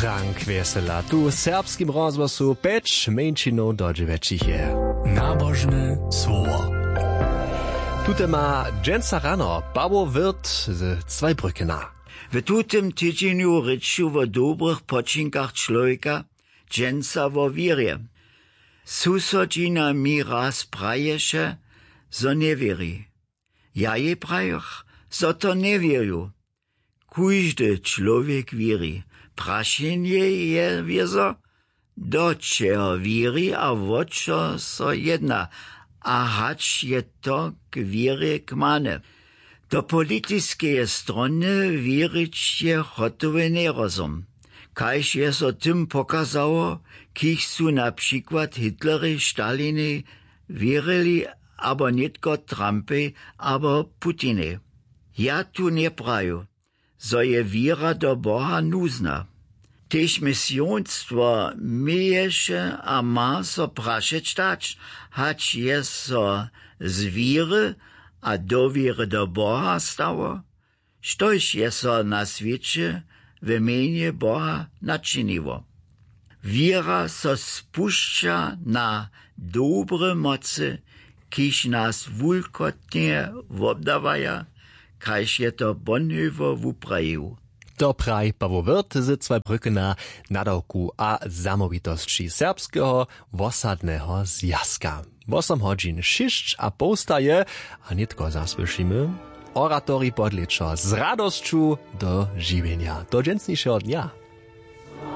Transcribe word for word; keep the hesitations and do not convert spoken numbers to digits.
Frank Wjesela tu w serbskim rozhłosu pjeć mjeńšinow do dźewjećich je. Nabožne słowo. Tute ma dźensa rano Pawoł Wirth ze Zweibrückena. W tutym tydźenju rěču wo dobrych počinkach čłowjeka, dźensa wo wěrje. Susodźina mi raz praješe, zo njewěri. Ja jej prajech, zo to njewěrju. Kóždy čłowjek wěri. Prašenje je wězo, do čeho wěri a wo čo so jedna, a hač je to k wěrje kmane. Do politiskeje strony wěrić je hotowy njerozum. Kaž je so tym pokazało, kiž su na přikład Hitlerej, Stalinej wěrili, abo nětko Trumpej abo Putinej. Ja tu njepraju, zo je wěra do Boha nuzna. Tež misionstwo měješe a ma so prašeć dać, hač je so z wěry a dowěry do Boha stało, štož je so na swěće w mjenje Boha načiniło. Wěra so spušća na dobre mocy, kiž nas wulkotnje wobdawaja, kaž je to Bonhoeffer wuprajił. To praji Pawoł Wirth ze Zweibrückena, nadawku a zamołwitosći Serbskeho wosadneho zwjazka. Wosom hodźin šěsć a połsta je, a nětko zasłyšimy oratorij podlěčo z radosću do žiwjenja do dźensnišeho dnja.